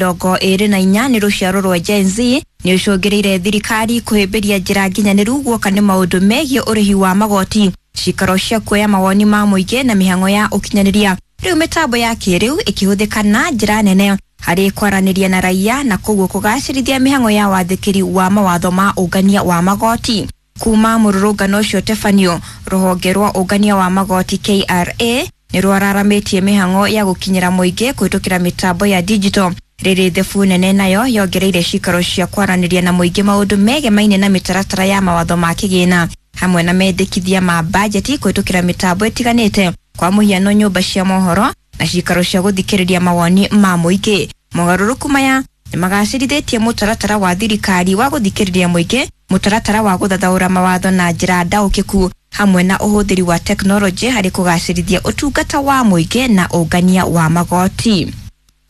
24 nĩ rũciaro rwa Gen Z nĩ ũcũngĩrĩire thirikari kũhĩmbĩria njĩra nginyanĩru guoka nĩ maũndũ megiĩ ũrĩhi wa magoti, cikaro cia kuoya mawoni ma mũingĩ na mĩhang'o ya ũkinyanĩria. Rĩu mĩtambo ya kĩrĩu ĩkĩhũthĩka na njĩra nene harĩ kwaranĩria na raia na koguo kũgacĩrithia mĩhang'o ya wathĩkĩri wa mawatho ma ũngania wa magoti. Kuma mũrũrũngano ũcio ũtabanio, rũhonge rwa ũngania wa magoti KRA nĩ rwararamĩtie mĩhang'o ya gũkinyĩra mũingĩ kũhĩtũkĩra mĩtambo ya digital. Rĩrĩ thebu nene nayo yongereire cikaro cia kwaranĩria na mũingĩ maũndũ megemaine na mĩtaratara ya mawatho ma kĩgĩna hamwe na mendekithia ma bajeti kũhĩtũkĩra mĩtambo ĩtiganĩte, kwa mũhiano nyũmba cia mohoro na cikaro cia gũthikĩrĩria mawoni ma mũingĩ. Mogarũrũku maya nĩ magacĩrithĩtie mũtaratara wa thirikari wa gũthikĩrĩria mũingĩ, mũtaratara wa gũthathaũra mawatho na njĩra ndaũkĩku hamwe na ũhũthĩri wa tekinoronjĩ harĩ kũgacĩrithia ũtungata wa mũingĩ na ũngania wa magoti.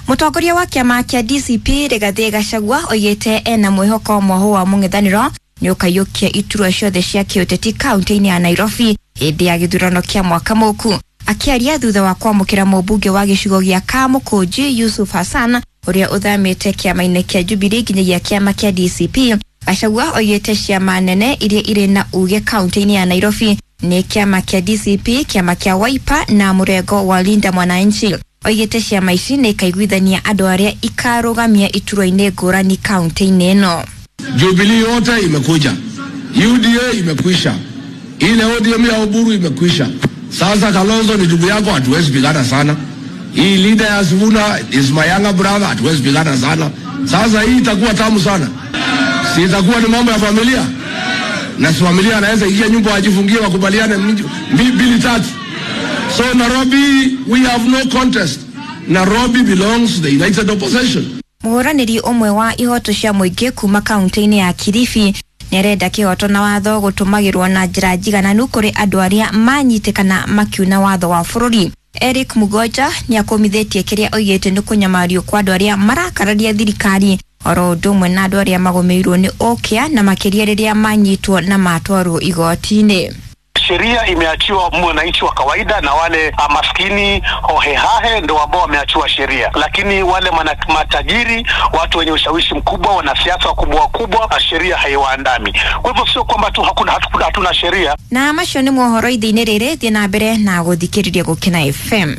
Mũtongoria wa kĩama kĩa DCP Rigathĩ Gachagua oigĩte ena mwĩhoko mwahu wa mũng'ethanĩro nĩ ũkaiyũkia iturwa ciothe cia kĩũteti kaunti-inĩ ya Nairobi hĩndĩ ya gĩthurano kĩa mwaka mũku. Akĩaria thutha wa kwamũkĩra mũmbunge wa gĩcigo gĩa Kamũkũnji Yusuf Hassan ũrĩa ũthamĩte kĩama-inĩ kĩa Jubilee nginyagia kĩama kĩa DCP, Gachagua oigĩte ciama nene iria irĩ na uge kaunti-inĩ ya Nairobi nĩ kĩama kĩa DCP, kĩama kĩa Wiper na mũrengo wa Linda Mwananchi. Oigĩte ciama ici nĩ ikaiguithania andũ arĩa ikarũgamia iturwa-inĩ ngũrani kaunti-inĩ ĩno. Jubilee yote imekuja, UDA imekwisha, ile ODM ya Oburu imekwisha. Sasa Kalonzo ni ndugu yako, hatuwezi pigana sana. Hii leader ya Sifuna is my younger brother, hatuwezi pigana sana. Sasa hii itakuwa tamu sana, si itakuwa ni mambo ya familia, na si familia anaweza ingia nyumba wajifungie, wakubaliane mbili tatu. So Nairobi, we have no contest. Nairobi belongs to the United Opposition. Mũhũranĩri ũmwe wa ihoto cia mũingĩ kuma kaunti-inĩ ya Kilifi nĩarenda kĩhoto na watho gũtũmagĩrwo na njĩra njigananu kũrĩ andũ arĩa manyitĩkana makiuna watho wa bũrũri. Eric Mugoja nĩakũmithĩtie kĩrĩa oigĩte nĩ kũnyamario kwa andũ arĩa marakararia thirikari oro ũndũ ũmwe na andũ arĩa magũmĩirwo nĩ ũkĩa na makĩria rĩrĩa manyitwo na matwarwo igoti-inĩ. Sheria imeachiwa mwananchi wa kawaida na wale maskini hohehahe ndio ambao wameachiwa sheria, lakini wale matajiri, watu wenye ushawishi mkubwa, wanasiasa wakubwa wakubwa, sheria haiwaandami. Kwa hivyo sio kwamba tu hakuna hatuna sheria. Na macio nĩ mohoro ithe-inĩ rĩrĩ, thiĩ na mbere na gũthikĩrĩria Gũkena FM.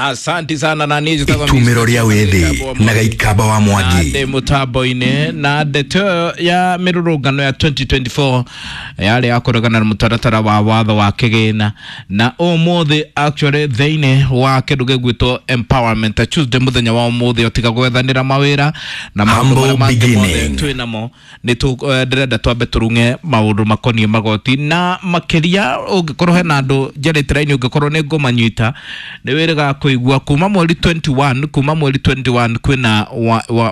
Asante sana na niĩ njĩtagwo Itumĩro rĩa wĩthĩ na Gaikamba wa Mwangi. Ndĩ mũtambo-inĩ na ndeto ya mĩrũrũngano ya 2024 yarĩ ya kũregana na mũtaratara wa watho wa kĩgĩna, na ũmũthĩ actually thĩinĩ wa kĩndũ gĩgwĩtwo Empowerment Tuesday, mũthenya wa ũmũthĩ ũtiga gwethanĩra mawĩra na maũndũ Humble marĩa mangĩ mothe beginning. twĩ namo nĩ ndĩrenda twambe tũrung'e maũndũ makoniĩ magoti, na makĩria ũngĩkorwo hena andũ njarĩte raini, ũngĩkorwo nĩ ngũmanyita nĩ wĩrĩga kũigua kuma mweri 21, kuma mweri 21 kwĩna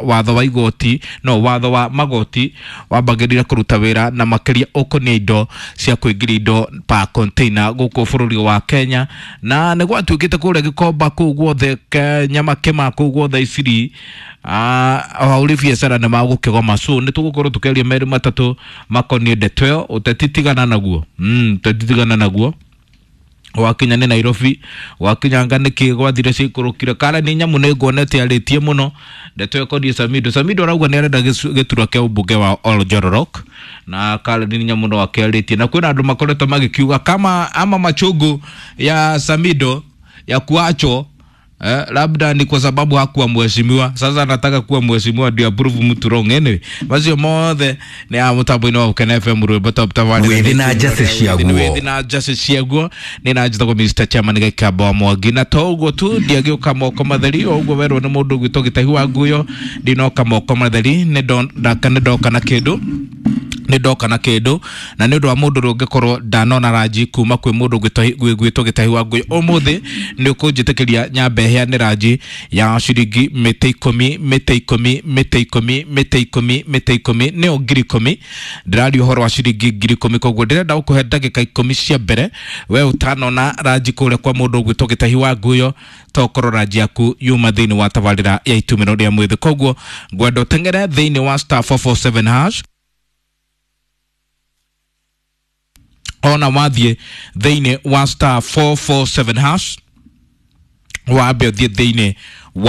watho wa igoti, no watho wa magoti wambagĩrĩra kũruta wĩra, na makĩria ũkoniĩ indo cia kũingĩria indo pa container gũkũ bũrũri wa Kenya, na nĩ gwatuĩkĩte kũrĩa Gĩkomba kũu guothe Nyamakĩma kũu guothe Isiri ahũri biacara nĩ magũkĩgoma. So nĩ tũgũkorwo tũkĩaria merĩ matatũ makoniĩ ndeto ĩyo. Ũteti tigana naguo, ũteti tigana naguo. Wakinya nĩ Nairobi, wakinyanga nĩkĩ gwathire ciikũrũkire kara nĩ nyamũ nĩ nguonete arĩtie mũno ndeto ĩkoniĩ Samido. Samido arauga nĩ arenda gĩturwa kĩa ũmbunge wa Oljororok, na kara nĩ nyamũ no akĩarĩtie, na kwĩna andũ makoretwo magĩkiuga kama ama machungu ya Samido ya kuachwo labda ni kwa sababu hakuwa mheshimiwa. Sasa anataka kuwa mheshimiwa ndio approve mtu wrong. Anyway, macio mothe nĩ ya mũtambo-inĩ wa Gũkena FM, rwĩmbo top tabarĩra. Wĩthĩ na njacĩ ciaguo. Wĩthĩ na njacĩ ciaguo. Nĩ na njĩtagwo Mr Chairman Gĩkamba wa Mwangi, na to ũguo tu, ndiagĩũka moko matheri. O ũguo werwo nĩ mũndũ ũgwĩtwo Gĩtahi wa Nguyo, ndinoka moko matheri, nĩ ndoka na kĩndũ, nĩ ndoka na kĩndũ, na nĩ ũndũ wa mũndũ ũrĩa ũngĩkorwo ndanona ranji kuma kwĩ mũndũ ũgwĩtwo Gĩtahi wa Nguyo, ũmũthĩ nĩ ũkũnjĩtĩkĩria nyambe heane ranji ya ciringi mĩtĩ 10, mĩtĩ 10, mĩtĩ 10, mĩtĩ 10, mĩtĩ 10, nĩyo 10,000. Ndĩraria ũhoro wa ciringi 10,000. Koguo ndĩrenda gũkũhe ndagĩka 10 cia mbere we ũtanona ranji kũrĩa kwa mũndũ ũgwĩtwo Gĩtahi wa Nguyo, tokorwo ranji yaku yuma thĩinĩ wa tabarĩra ya Itumĩro rĩa Mwĩthĩ. Koguo ngwenda ũteng'ere thĩinĩ wa *447#. Ona wathiĩ thĩinĩ wa *447# wambe ũthiĩ thĩinĩ